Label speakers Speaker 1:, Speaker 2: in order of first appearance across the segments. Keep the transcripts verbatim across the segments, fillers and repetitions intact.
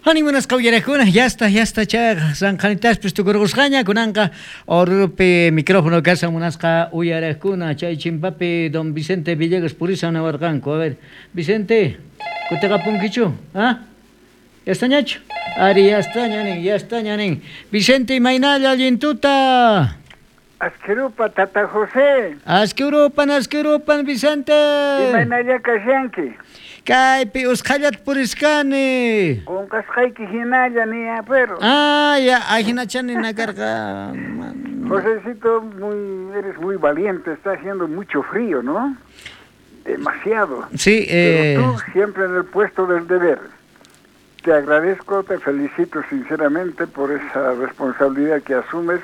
Speaker 1: Animunasqa uyarakuna, ya está, ya está chayqa sanqanitaspis tukurqusqaña kunanqa Oruropi micrófono kashan munasqa uyarakuna chay chimpapi don Vicente Villegas purisan nawarqanku. A ver, Vicente, kutiqapunkichu? ¿Ah? Ya estañachu? Ari, ya está ñanin, ya está ñanin. Vicente, imaynalla allintuta.
Speaker 2: Asquirupa, Tata José.
Speaker 1: Asquirupan, asquirupan, Vicente.
Speaker 2: Imaynalla kashanki.
Speaker 1: Kaypi usqhallat puriskani.
Speaker 2: Qunqasqayki hinalla ni pero.
Speaker 1: Ah, ya, ahinachani nakarqa.
Speaker 2: Josecito, muy, eres muy valiente, está haciendo mucho frío, ¿no? Demasiado.
Speaker 1: Sí, eh...
Speaker 2: Pero tú siempre en el puesto del deber. Te agradezco, te felicito sinceramente por esa responsabilidad que asumes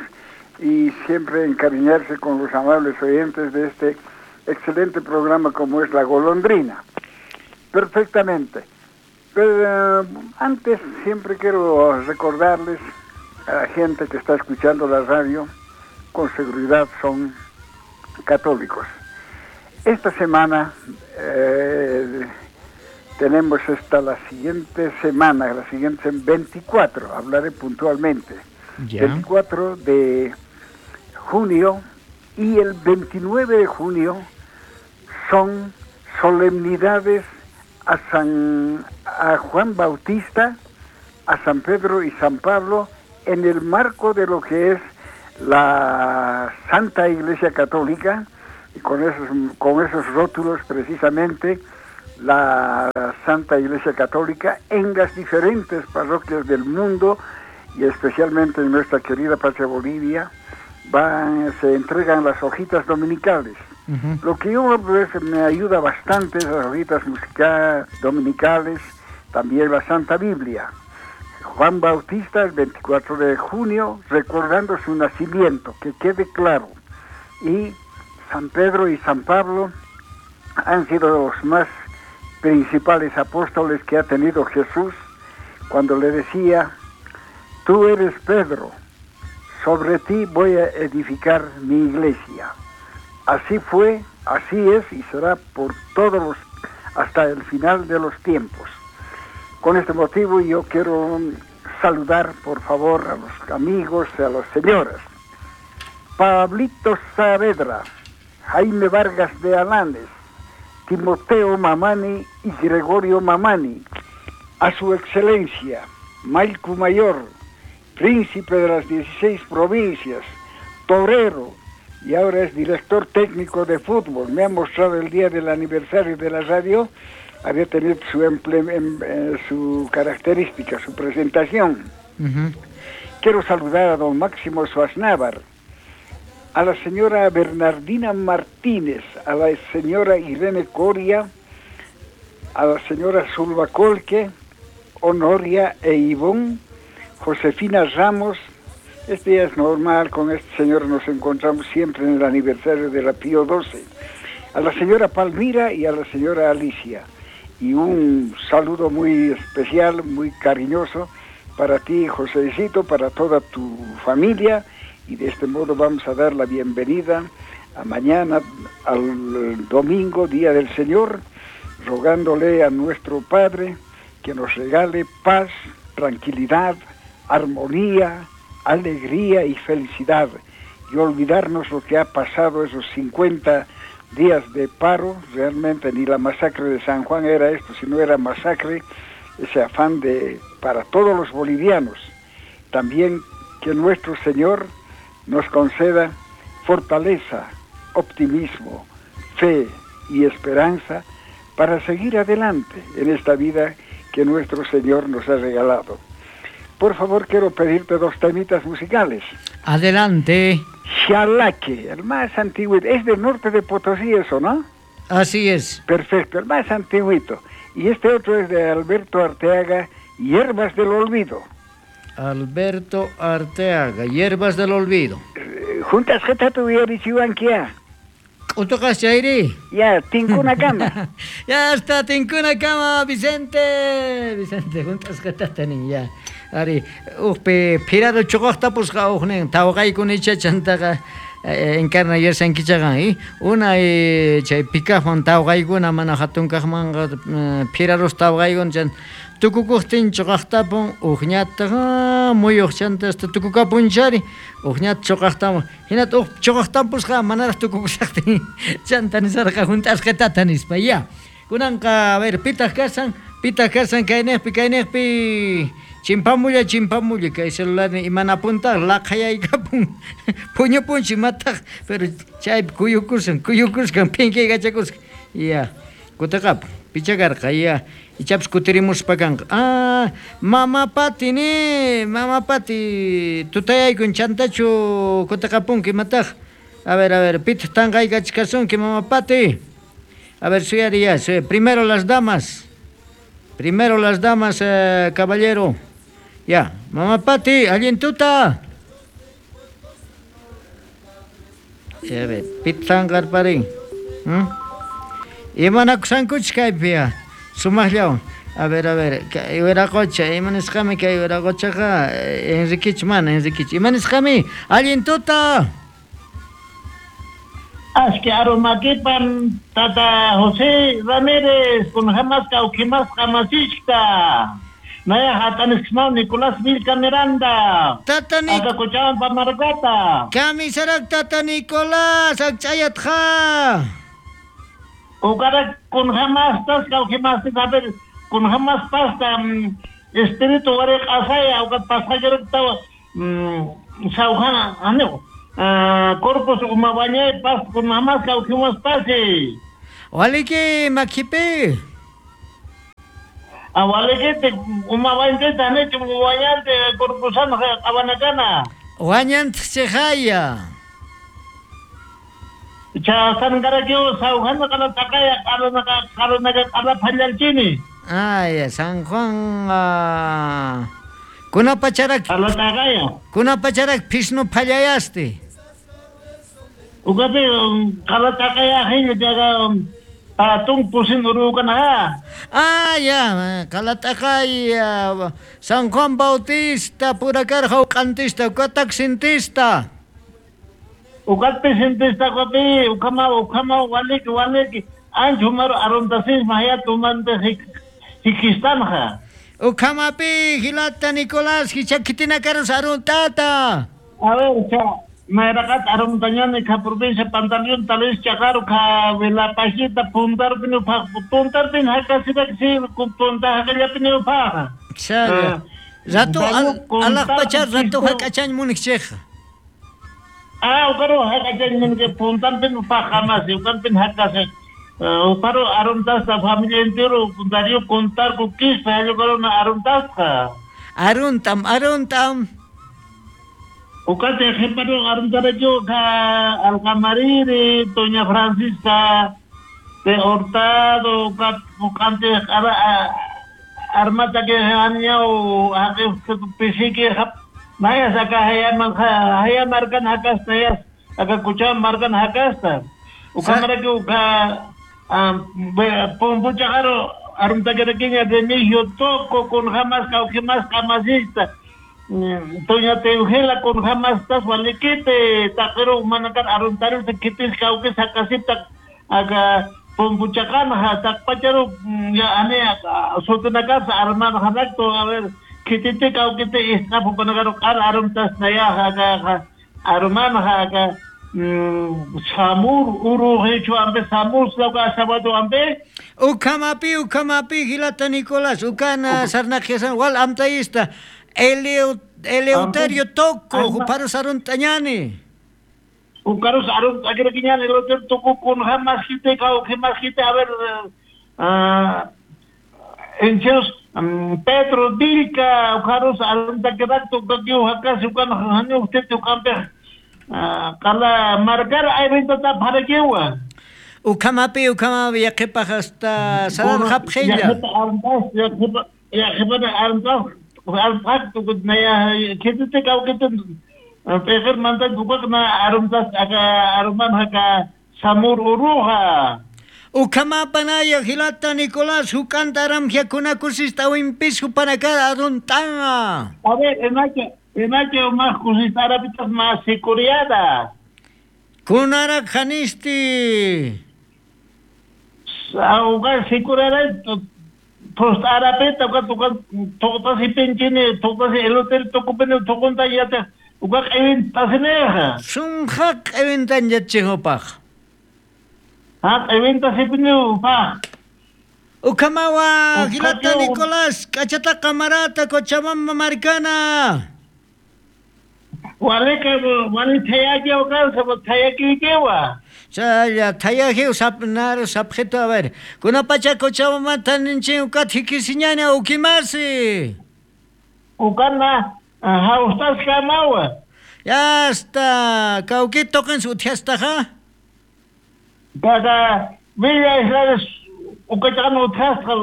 Speaker 2: y siempre encariñarse con los amables oyentes de este excelente programa como es La Golondrina. Perfectamente. Pero eh, antes siempre quiero recordarles a la gente que está escuchando la radio, con seguridad son católicos. Esta semana eh, tenemos esta la siguiente semana, la siguiente veinticuatro, hablaré puntualmente,
Speaker 1: Ya.
Speaker 2: veinticuatro de junio y el veintinueve de junio son solemnidades a San a Juan Bautista, a San Pedro y San Pablo en el marco de lo que es la Santa Iglesia Católica, y con esos, con esos rótulos precisamente la Santa Iglesia Católica en las diferentes parroquias del mundo y especialmente en nuestra querida patria Bolivia van, se entregan las hojitas dominicales.
Speaker 1: Uh-huh.
Speaker 2: Lo que yo pues, me ayuda bastante, esas hojitas musicales dominicales, también la Santa Biblia. Juan Bautista, el veinticuatro de junio, recordando su nacimiento, que quede claro. Y San Pedro y San Pablo han sido los más principales apóstoles que ha tenido Jesús, cuando le decía, tú eres Pedro, sobre ti voy a edificar mi iglesia. Así fue, así es y será por todos los, hasta el final de los tiempos. Con este motivo yo quiero saludar, por favor, a los amigos, a las señoras. Pablito Saavedra, Jaime Vargas de Alanes, Timoteo Mamani y Gregorio Mamani, a su excelencia, Mallku Mayor, príncipe de las dieciséis provincias, torero, y ahora es director técnico de fútbol. Me ha mostrado el día del aniversario de la radio, había tenido su, emple, em, eh, su característica, su presentación.
Speaker 1: Uh-huh.
Speaker 2: Quiero saludar a don Máximo Suaznávar, a la señora Bernardina Martínez, a la señora Irene Coria, a la señora Zulva Colque, Honoria e Ivón, Josefina Ramos. Este día es normal, con este señor nos encontramos siempre en el aniversario de la Pío doce. A la señora Palmira y a la señora Alicia. Y un saludo muy especial, muy cariñoso para ti, Josecito, para toda tu familia. Y de este modo vamos a dar la bienvenida a mañana, al domingo, Día del Señor, rogándole a nuestro Padre que nos regale paz, tranquilidad, armonía, alegría y felicidad, y olvidarnos lo que ha pasado esos cincuenta días de paro. Realmente ni la masacre de San Juan era esto, sino era masacre, ese afán de para todos los bolivianos. También que nuestro Señor nos conceda fortaleza, optimismo, fe y esperanza para seguir adelante en esta vida que nuestro Señor nos ha regalado. Por favor, quiero pedirte dos temitas musicales.
Speaker 1: Adelante.
Speaker 2: Xalaque, el más antiguo. Es del norte de Potosí eso, ¿no?
Speaker 1: Así es.
Speaker 2: Perfecto, el más antiguito. Y este otro es de Alberto Arteaga, Hierbas del Olvido.
Speaker 1: Alberto Arteaga, Hierbas del Olvido.
Speaker 2: Juntas tu yarichiwankia.
Speaker 1: Utokas chairi.
Speaker 2: Ya, tinkuna kama.
Speaker 1: Ya está, tinkuna kama, Vicente. Vicente, juntas ni ya. Ari, uqpi phiraro chuqaqtapusqa uqnin tawqaykunicha chantaqa encarna yashankichaqa i una chay pikaqman tawqaykuna mana hatunkaqmanqa phirarus tawqaykun chan Tukukuqtin chuqaqtapun uqñataq muyuq chanta hasta tukukapunchari uqñata chuqaqtamun hinata uq chuqaqtampusqa manaraq tukukushaqtin chanta nisarqa hunt'asqitata nispa ya. Kunanqa a ver pitaq kasan pitaq kasan kayniqpi kayniqpi chimpamulla chimpamulla kay celularni imanapuntaq laqhayaykapun puñupunchik mataq pero chaypi kuyukusan kuyukuskan phinkiykachacusqa ya kutiqapun pichakarqa ya ichapas kutirimuspa kanqa ah mama Pati ni mama Pati tutayaykun chantachu kutiqapunki imataq a ver a ver pitaq tanqaykachikasunki mama Pati a ver suyari ya primero las damas primero las damas eh, caballero ya mama Pati allin tuta a ver pitaq tanqarparin hmm? Imanakusankuchis kaypi ya sumaqllawan a ver a ver kay wiraqocha imanisqami kay wiraqochaqa Enriquich mana Enriquich imanisqami allin tuta
Speaker 3: Aski arumakipan tata José Ramírez con jamasqa uqimasqa masishka naya hatanisqman Nicolás Vilca Miranda
Speaker 1: tata Nic
Speaker 3: Akakuchawan pamarkata
Speaker 1: kamisarak tata Nicolás akchayatqa
Speaker 3: Ukarak con jamás tas kaujimas a ver con jamás pasta espíritu wariq asaya ukat pasajero tawa saujana ano corpus umabañay pas con jamás kaujimas pasi
Speaker 1: waliki makipi
Speaker 3: a waliki umabañay tanich umabañante corpusan abanakana
Speaker 1: wañant chejaya
Speaker 3: cha sangarakio San Juan takaya karunaka karunaka kala phallalchini
Speaker 1: ay San Juan kunapacharak
Speaker 3: kala takaya
Speaker 1: kunapacharak phisnu phallayasti
Speaker 3: ukapi kala takaya hin jaga patung pusin urukana
Speaker 1: ah ya kala takaya San Juan Bautista purakarqa uqantista ukatak sintista
Speaker 3: Ukatpi sintista kapi ukama ukama walik walik anch humaru aruntasis mahya tumante hikistanja
Speaker 1: Ukamapi hilata Nicolás hichakitina karus aruntata
Speaker 3: a ver cha mayrakat aruntañani ka provincia Pantaleón talis chaqaru ka vilapashita puntarpin upaq puntarpin hakasiraksi punta hakallapin upaqa
Speaker 1: Chaya rato alaqpacha rato hak'achañ munikchikqa
Speaker 3: Ah, ukaru hakachan minke puntanpin upaqamasi ukanpin hakase uparu aruntasta familia entero darío contar con quispa ukaru aruntasqa
Speaker 1: aruntam aruntam
Speaker 3: ukate jeparu aruntaracho ka Alcamariri Doña Francisca de Hurtado ukat ukante ara armata que añao pisiki hap Naya saka haya haya markan hakasta ya aka kucha markan hakasta ukamara ke uka pompucha karo arunta kerakinya Remigio Toco con jamás caujimas jamasista Toña Teugela con jamás tas walikite takero manakan aruntaru se kitis cauque sakasita aka pompuchakana takpacharo ya ane sotunaka arman hanakto a ver kitite kaukite isnapu panagaro kar aruntas naya haka aruman haka samur uru hecho ambe samur sloka sabado ambe
Speaker 1: ukamapi ukamapi hilata Nicolás ukana sarnajesan wal amtayista Eleu Eleuterio Toco juparos aruntañani
Speaker 3: ukaros arun agreguiñani Eleuterio Toco con jamás kite kau jamás kite a ver encheos Pedro Vilca, ujaros aruntaquedacto, ucaquiu, jacasi, ucan, jani, usted, ucampe, kala marcar, ayrinta paraquewa.
Speaker 1: Ucamapi, ucamapi, yaquepa hasta salar japjella.
Speaker 3: Yaquepa aruntas, yaquepa, yaquepa aruntas, aruntas, naya, ketete, cauquete, pejer manta, ucacna, aruntas, acá, aruman, acá, samur uruja.
Speaker 1: Ukamapanaya hilata Nicolás hukantaram hiakunakusista wimpis hupanakara aruntanga.
Speaker 3: A ver, enache, enache más kusista arapitas más sicuriada.
Speaker 1: Kunarak hanisti.
Speaker 3: Augar sicuriada Post arapeta uka tuka tuqtasi pinchini tuqtasi elote tukupini tuqunta yata uka q'ewintasinejqa.
Speaker 1: Sunqa q'ewintan yachihupaq.
Speaker 3: Ha q'ewintasipini upaq.
Speaker 1: Ukamawa Gilata Nicolás k'achataqa marata Cochabamba markana.
Speaker 3: Walika wali thayaki uka thayakiykiwa.
Speaker 1: Chaya thayajiw sapnar sapjito a ver. Kuna pacha Cochabamba ninchin uka thikisiñana ukimasi.
Speaker 3: Ukana hawstas kamawa.
Speaker 1: Ya está, kawkito qan uthiastaqa.
Speaker 3: Kaka Villa Israel ukachan uthasqa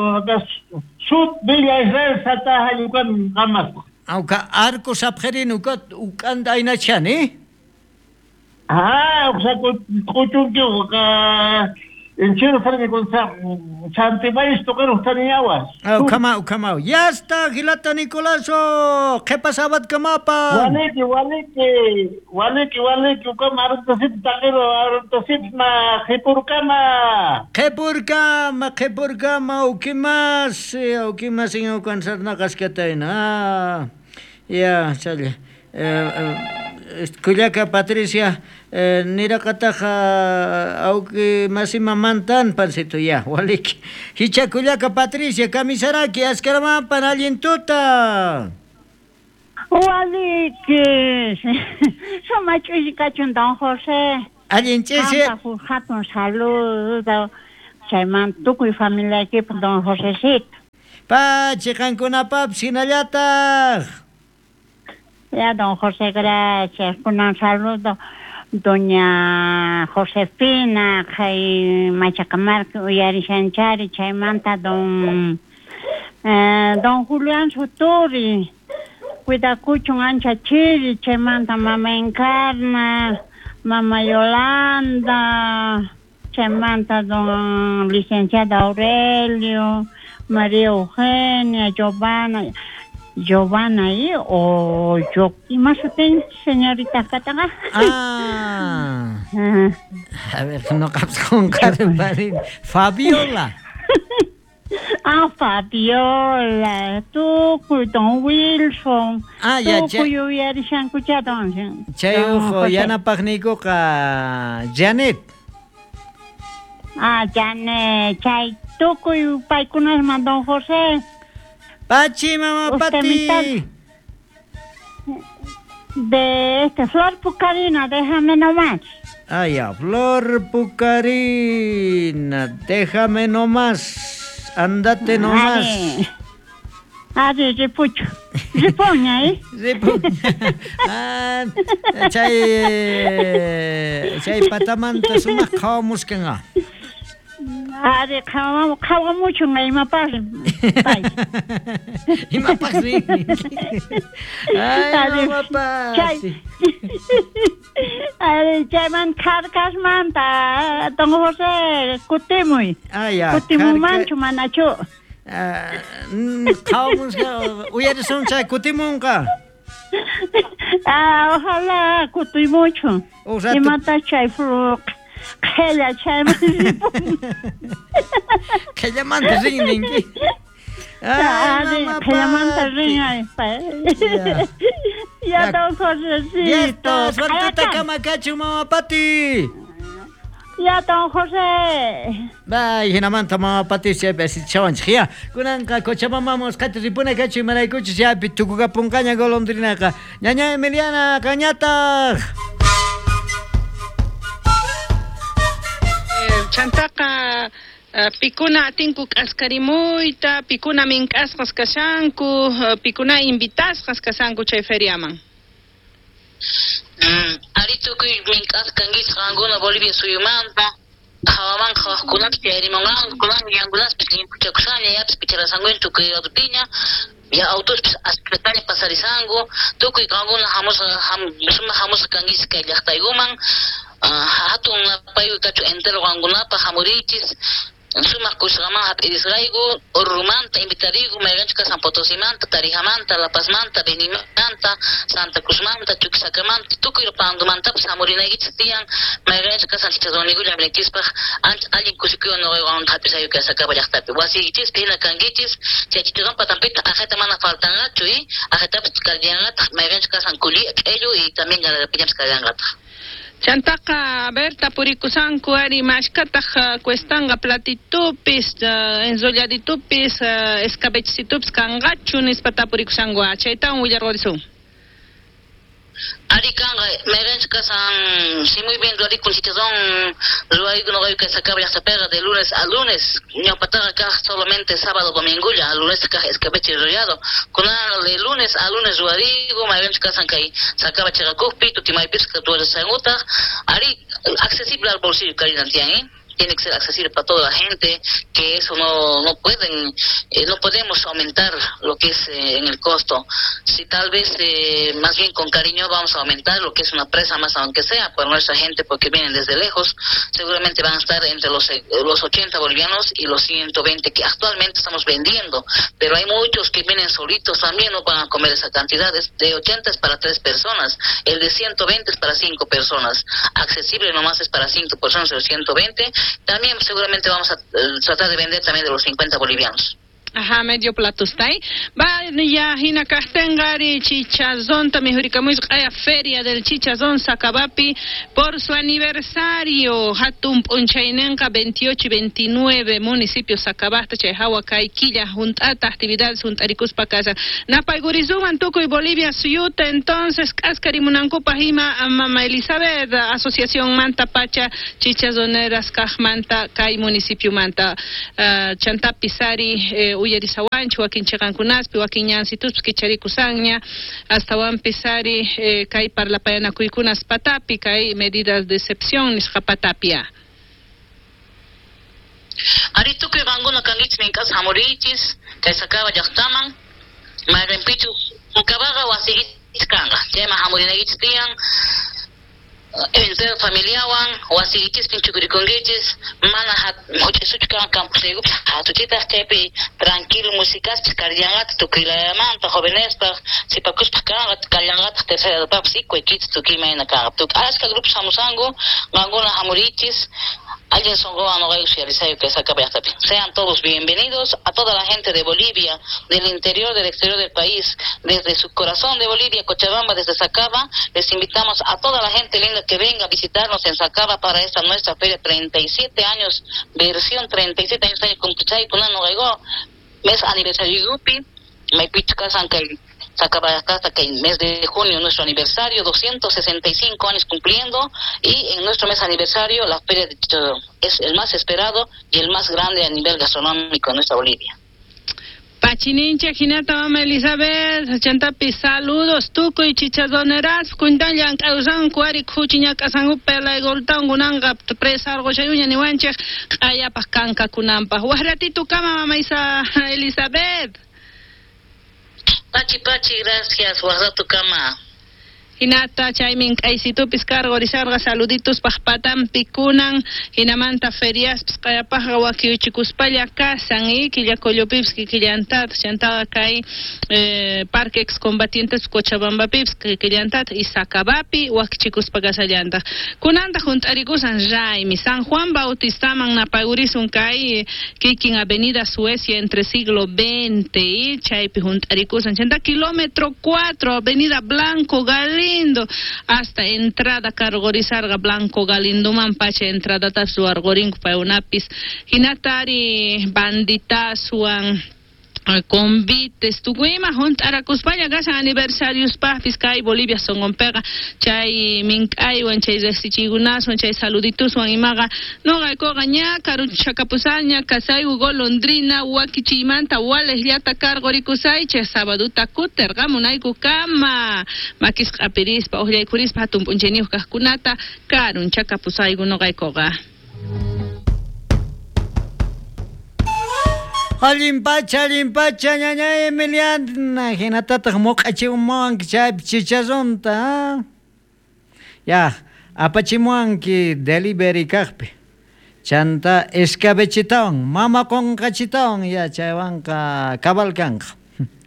Speaker 3: sut Villa Israel sataha yukan qamasqa.
Speaker 1: Uka arco sapjerin uka ukanta aynachani.
Speaker 3: Ah, uka kuchunki uka enchero sarni con Santibáñez tocar uhtaniyawas.
Speaker 1: Ukama ukama. Ya está, Gilata Nicolaso. ¿Qué pasaba kamapa?
Speaker 3: Waliki waliki waliki waliki ukama aruntasip taqiro aruntasip ma qhipurkama.
Speaker 1: Qhipurkama qhipurkama ukimas ukimas ukan sarnaqasqatayna. Ah, ya, chale. Eh, Kullaka Patricia eh, niraqataqa auki masima mantan pancito ya waliki hicha Kullaka Patricia kamisaraki askaramapan allin tuta
Speaker 4: waliki suma ch'ushi kachun don José
Speaker 1: allin ch'isi
Speaker 4: hatun saludo chayman tukuy familiaykipaq don Josecito
Speaker 1: pachi qankunapapis hinallataq.
Speaker 4: Ya, don José, gracias. Un saludo, doña Josefina, kay Machacamarca, Uyarishanchari, chaymanta, don, eh, don Julián Suturi, cuidakuchun ancha chiri, chaymanta, mama Encarna, mama Yolanda, chaymanta, don licenciado Aurelio, María Eugenia, Giovanna. Giovanna y o yo y más usted señorita Kataga.
Speaker 1: Ah. A ver, no con Fabiola.
Speaker 4: Ah, Fabiola, tú don Wilson.
Speaker 1: Ah, ya,
Speaker 4: ya.
Speaker 1: Chay ujo yanapaqniykuqa Janet.
Speaker 4: Ah, Janet, chay tukuy paykunasman don José.
Speaker 1: Pachi, mamá Pati.
Speaker 4: De este Flor Pucarina, déjame nomás.
Speaker 1: Ah, ya, Flor Pucarina, déjame nomás. Andate nomás.
Speaker 4: Ari, ripucho. Ripuña, ¿eh?
Speaker 1: Ripuña. Ah, chay, chay patamanta sumaq qhawamuskanqa.
Speaker 4: Ari, qhawamuchun imapaq pay.
Speaker 1: Imapaq rin. Ay, mamapaq.
Speaker 4: Chay. Ari, chayman Carcasmanta, don José, kutimuy.
Speaker 1: Ah, ya.
Speaker 4: Kutimumanchu manachu.
Speaker 1: Qhawamusqa, uyarisun chay kutimunqa.
Speaker 4: Ah, ojalá kutimuchun. Imata chay fruq. Qhella chayman ripun.
Speaker 1: Qhellamanta rin ninki. Ay,
Speaker 4: qhellamanta rin ay. Ya don Josecito.
Speaker 1: Ya está, suertita kamakachu mama Pati.
Speaker 4: Ya don José.
Speaker 1: Bay, hinamanta mama Pati chaypi asichawanchik ya. Kunanqa Cochabamba qati ripuna kachu imaraykuchus chaypi tukukapunqaña golondrinaqa. Ñaña Emiliana qañataq.
Speaker 5: Chantaqa pikuna atinku k'askarimuyta, pikuna mink'asqas kashanku, pikuna invitasqas kashanku chay feriaman.
Speaker 6: Mm, ari tukuy mink'asqa kankichik qankuna Bolivia suyumanta, hawaman qhawaqkunapis chayarimunqanku, kunan yankunaspis llimpuchakushaña, yapis picharasankuña tukuy ladopiña, ya autospis aspetaña pasarisanku, tukuy qankuna hamusqa ham, sumaq hamusqa kankichik kay llaqtaykuman. Hatun napayuy kachu entero qankunapaq hamurichis, Sumaq kusqaman hap'irisqayku, Orurumanta invitariku, mayqanchus kasan Potosimanta, Tarijamanta, La Pazmanta, Benimanta, Santa Cruzmanta, Chuquisacamanta, tukuy Pandumantapas hamurinaykichis tiyan, mayqanchus kasan chicharroniykulla hamurinaykichispaq, ancha allin kusikuywan nuqaywan hap'isayu kay Sacaba llaqtapi. Wasiykichispi hina kankichis, chay chicharrón patanpitaq aqhayta mana faltanqachu, y aqhaytapas kallanqataq, mayqanchus kasan kuli, q'ellu y también garapiñapas kallanqataq.
Speaker 5: Chantaqa, a ver, tapurikusanku ari mashkataq cuestanga platitupis, uh, enrolladitupis, uh, escabechitupis kanqachu nispa tapurikusanku, chaytawan willarqurisun.
Speaker 6: Ari kanqa, mayqanchus kasan, si muy bien ruwarikun chicharrón, ruwayku nuqayku kay Sacaba llaqtapiqa de lunes a lunes, ñawpataqa kaq solamente sábado domingulla, lunes kaq escabeche enrollado, kunan de lunes a lunes ruwariku, mayqanchus kasan kay Sacaba chiqakuqpi, Tutimaypis ruwarisankutaq, ari accesible al bolsillo Karina tiyan, ¿eh? Tiene que ser accesible para toda la gente, que eso no no pueden, eh, no podemos aumentar lo que es eh, en el costo. Si tal vez, eh, más bien con cariño vamos a aumentar lo que es una presa más, aunque sea por nuestra gente, porque vienen desde lejos, seguramente van a estar entre los, eh, los ochenta bolivianos y los ciento veinte que actualmente estamos vendiendo, pero hay muchos que vienen solitos también, no van a comer esa cantidad. Es de ochenta es para tres personas, el de ciento veinte es para cinco personas, accesible nomás es para cinco personas el ciento veinte. También seguramente vamos a eh, tratar de vender también de los cincuenta bolivianos.
Speaker 5: Ajá, medio plato está ahí. Va, ya, hina kastengari, chichazón, también jurikamuis, feria del chichazón, Sacabapi, por su aniversario, hatun punchainenka, veintiocho y veintinueve, municipio Sacabasta, Chayhawa, Quilla, juntata, actividades, juntarikuspa casa. Napaygurizuman, Tucuy, Bolivia, Suyuta, entonces, Kaskarimunankupa, Jima, Mama Elizabeth, Asociación Manta Pacha, Chichazoneras, Kajmanta, Kay, municipio Manta, uh, Chantapisari, eh, uyarisawanchu, wakin chiqankunaspi, wakin ñansituspi kicharikusanya, hasta pisari eh, kay parlapayanakuykunas patapi, kay medidas de excepción nisqa patapia.
Speaker 6: Ari tukuy qankuna kankichis mink'asqa hamurichis, kay Sacaba llaqtaman, mayqinpichus Sacaba wasiykichis kanqa, chayman hamurinaykichis tiyan, entero familiawan, wasiykichispin chukurikunkichis, mana huch'isuchu kan campusniykupis hatuchitaq, chaypi tranquilo musikaspis karllanqataq tukuylayamanta jovenespaq, sipakuspaq kanqa, kallanqataq tercera edadpaqpis ikuaykichis tukuy imayna kanqa. Tukuy ashka grupos hamusanku, qankuna hamurichis, alguien songoa no que Sacaba llaqtapi. Sean todos bienvenidos a toda la gente de Bolivia, del interior, del exterior del país, desde su corazón de Bolivia, Cochabamba, desde Sacaba, les invitamos a toda la gente linda que venga a visitarnos en Sacaba para esta nuestra feria treinta y siete años, versión treinta y siete años, mes aniversario Yupi, Sacaba hasta que en mes de junio nuestro aniversario, doscientos sesenta y cinco años cumpliendo, y en nuestro mes aniversario la feria de chicharrón es el más esperado y el más grande a nivel gastronómico en nuestra Bolivia.
Speaker 5: Pachinincha, Jinata, Mama Elizabeth, Chantapi, saludos, tukuy y chichazoneras, kuntallan, causan, cuari, cuchiña, casangu, pela, y goltán, gunanga, presa, algo, chayuña, nihuanche, ayapas, canca, cunampa. Guarratito, cama, Mama Isa, Elizabeth.
Speaker 6: Pachi, pachi, gracias, guarda cama.
Speaker 5: Hinata chaymin k'aysitupis karqurisharqa saluditos paqpatampi kunan hinamanta feriaspis qayapaqqa wakiuchikuspalla kasan y killakollupipis kikillantataq chantaqa kay eh, parque excombatientes Cochabambapipis kikillantataq y Sacabapi wakichikuspa kasallantaq kunantaq hunt'arikusan raymi San Juan Bautistaman napayurisun kay kikin Avenida Suecia entre siglo veinte y chaypi hunt'arikusan chanta kilómetro cuatro Avenida Blanco Galindo hasta entrada cargorizarga Blanco Galindo pacha entrada tasu argorinco paunapis hinatari banditasuan convites tukuyma hunt'arakuspalla kashan aniversarios pajpis kay Bolivia sonqonpiqa chay mink'aywan chay riqsichiykunaswan chay saludituswan imaqa nuqaykuqa ña karuchakapusaña kasayku golondrina wakichiymanta walejllata karqurikusaychik sabaduta kutirqamunayku kama makisqa q'apirispa uqllaykurispa hatun p'unchayniyuq kaqkunata karunchakapusayku nuqaykuqa.
Speaker 1: Allin pacha, allin pacha, ñaña Emiliana, hinatataq muq'achimuwanki chaypi chicharronta, ya, apachimuwanki delivery kaqpi, Chanta escabechitawan, mama qonqachitawan, ya chaywanqa cabal kanqa.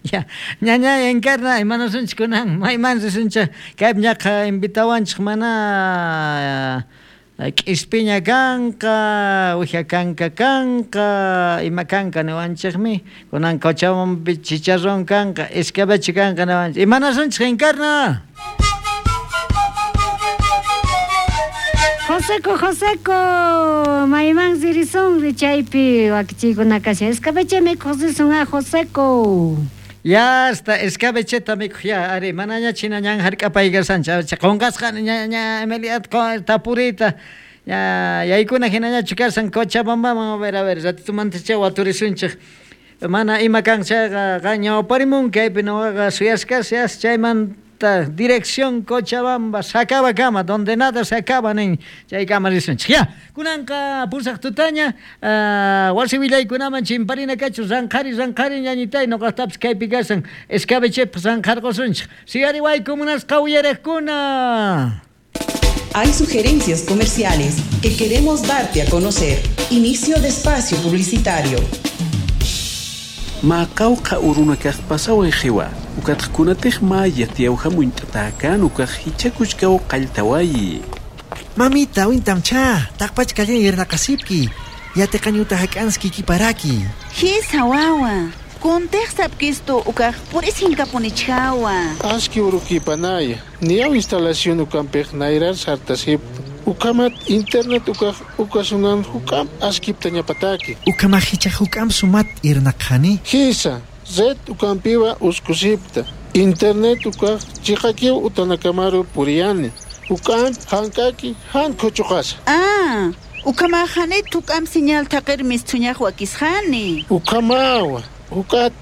Speaker 1: Ya, ñaña Encarna, imanasunchik kunan, mayman risunchik, kaypi ñaqa invitawanchik mana k'ispiña kanqa, uwija kanka kanqa, ima kanka niwanchikmi, kunan Cochabambapi chicharrón kanqa, escabeche kanqa niwanchik. Imanasunchik Encarna?
Speaker 7: Joseco, Joseco, mayman risunri chaypi wakichiykuna kashan. Escabeche mikhuq risun a Joseco.
Speaker 1: Ya hasta escabecheta mikhuq ya, ari manaña china ñan hark'apay kashancha, qonqasqa ña ña Emilia tapuriyta. Ya yaykuna hinañachu kashan Cochabambaman, a ver, a ver, ratitumanta waturisunchik. Mana ima kan chayqa qan ñawparimun kaypi nuqaqa suyasqas chayman dirección Cochabamba, Sacaba kama, donde nada se acaba nin chaykama risunchik. Ya, kunanqa pusaq tutaña, uh, wasi willaykunaman chimparina kachu, ranqhari ranqhari ñañitay nuqaqtapis kaypi kashan escabechepas ranqharqusunchik. Siyariwayku munasqa uyariqkuna.
Speaker 8: Hay sugerencias comerciales que queremos darte a conocer. Inicio de espacio publicitario.
Speaker 9: Maqawqa urunakaq pasaway qiwa ukatqkunataq maya tiyawhamunt'atakan ukaq hichakuchkaw qalltawayi.
Speaker 10: Mamita, wintamcha, taqpachkallan yernaqasipki, yateqañuta hak'anski kiparaki.
Speaker 11: Hisa wawa, kuntiq sapkistu ukaq purisinkapunichkawa.
Speaker 12: Aski urukipanaya, niyaw instalación ukampiq nayrar sartasip. Ukamat internet ukaq ukasunan hukam askipta ñapataki.
Speaker 10: Ukamaq hichaq hukam sumat irnaqhani.
Speaker 12: Hisa, red ukampiwa uskusipta. Internet ukaq chiqakiw utanakamaru puriyani. Ukam hankaki han kuchuqasa.
Speaker 11: Ah, ukamaqhani tukam señal taqir mistuñaq wakisqani.
Speaker 12: Ukamawa, ukat